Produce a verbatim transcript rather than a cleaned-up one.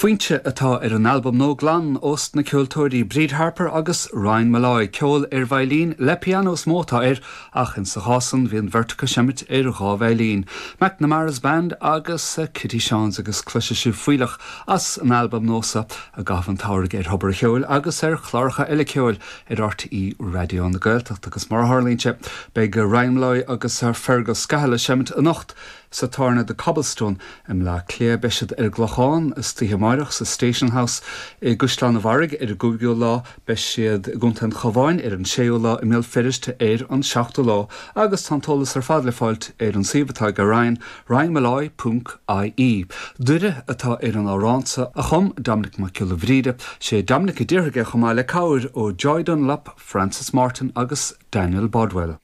Foinse atá ar an albam nua glan ós na ceoltóirí Bríd Harper agus Ryan Molloy ceol ar veidhlín le pianó is mó atá air ach in sa chás san bhí an bheirt ag seimint ar dhá veidhlín. McNamara's Band agus uh, Kitty Seans agus cloisfidh sibh fuílleach as an albam nua seo i gcaitheamh an tsamhraidh ar Thobar an Cheoil agus ar chláracha eile ceoil ar RTÉ Raidió na Gaeltachta agus mar a tharlaíonn sé beidh Ryan Molloy agus Fergal Scahill ag seimint anocht sa tábhairne The Cobblestone i mBleá Cliath beidh siad ar an gClochán istoíche amárach sa Station House i gCaisleán an Bharraigh ar an gcúigiú lá beidh siad i gContae an Chabháin ar an séú lá i mBéal Feirste ar an seachtú lá agus tá an t-eolas ar fad le fáilt ar an suíomh atá ag Ryan ryanmolloy.ie. Doire atá ar an amhrán seo a chum Dominic Mac Giolla Bhríde sé Dominic a d'fhreagraigh chomh maith le cabhair ó Joy Dunlop, Francis Martin agus Daniel Bodwell.